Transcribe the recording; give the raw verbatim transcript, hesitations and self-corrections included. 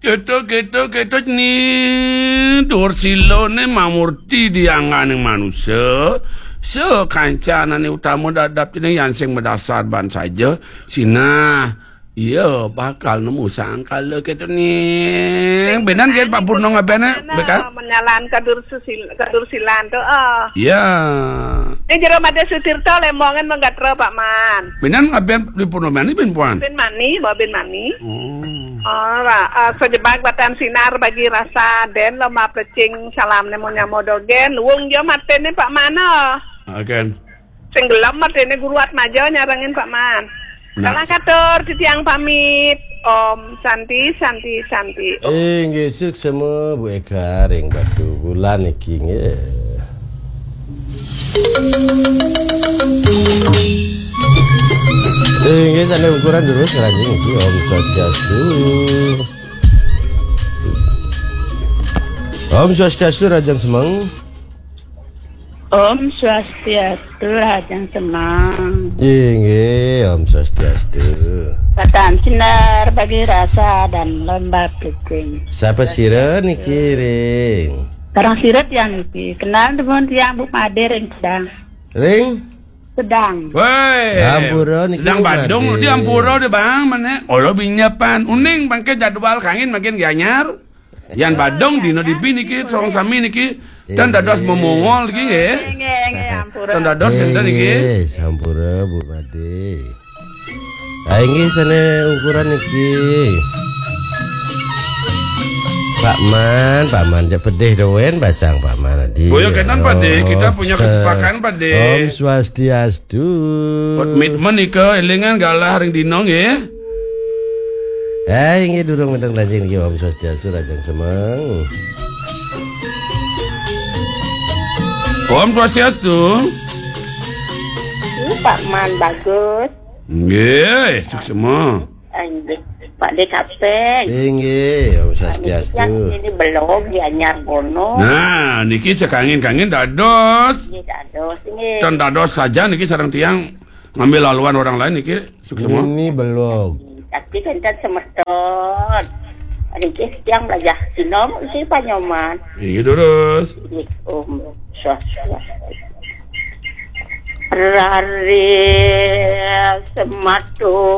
Kéto, kéto, kéto, nih, Dursila né mamurti diangganing manusa. Sakancan ané utama dadap nih yan sing madasar ban saja. Sinah, ia bakal nemu sangkala kéto nih. Bénan gén Pak Purno ngabéné, Béka? Menyalan ka Dursusil-, ka Dursilan to, ah. Ya. Ning jero Madé Sutirta, Lembongan, Menggatra, Pak Man. Bénan ngabén di Purno mani, bin puan? Bin mani, bawa bin mani. Oh. Oh, Pak, eh, sejebag batan sinar bagi rasa den lo ma pecing salam nemu nyamo dogen. Wong jo maténé Pak Man, oh. Akan. Sing gelem maténé Guru Atmaja nyarengin Pak Man. Nah. Salah katur, titiang pamit. Om Santi, Santi, Santi. Om. Inggih, suksema Bu Eka ring Batubulan niki, nggih. Inggih, sané ungkuran terus, Rajang niki, Om Swastiastu. Om Swastiastu, Rajang Semeng. Om Swastiastu, Rajang Semeng. Inggih, Om Swastiastu. Batan sinar bagi rasa dan lomba picing. Sapa sira niki ring? Sareng sira tiang niki. Kenal dumun tiang Bu Madé ring Sedang. Ring? Sedang. Woi. Ampura niki Sedang Bu Badung, Madé. Di ampura di Bang, mana? Olo binyapan. Uning mangke jadwal kangin makin gianyar. Yan Badung dina dibi niki, sareng sami niki, tan dados memongol niki, nggih. Nggih, nggih, ampura. Tan dados wénten niki. Nggih, sampura, Bu Madé. Ah, inggih, sané ungkuran niki. Pak Man, Pak Man, jak pedih doen basang Pak Man tadi. Boya kenan, Pak Dé, kita punya kesepakatan, Pak Dé. Om Swastiastu. Komitmen nika, élingan galah ring dina, nggih. Eh, inggih durung wénten lanjing niki, Om Swastiastu, Rajang Semeng. Om Swastiastu. Ini Pak Man Bagus. Nggih, suksema. Inggih, Pak Dé Kaping. Inggih, Om Swastiastu. Ini belum dianyar bono. Nah, niki sakangin-kangin dados. Nggih, dados, nggih. Tan dados saja niki sareng tiang ngambil laluan orang lain niki. Suksema. Ini belum. Tapi kan semeton. Niki tiang belajar sinom isi panyoman. Inggih, terus. Nggih, Om Swastiastu. Rare sematu.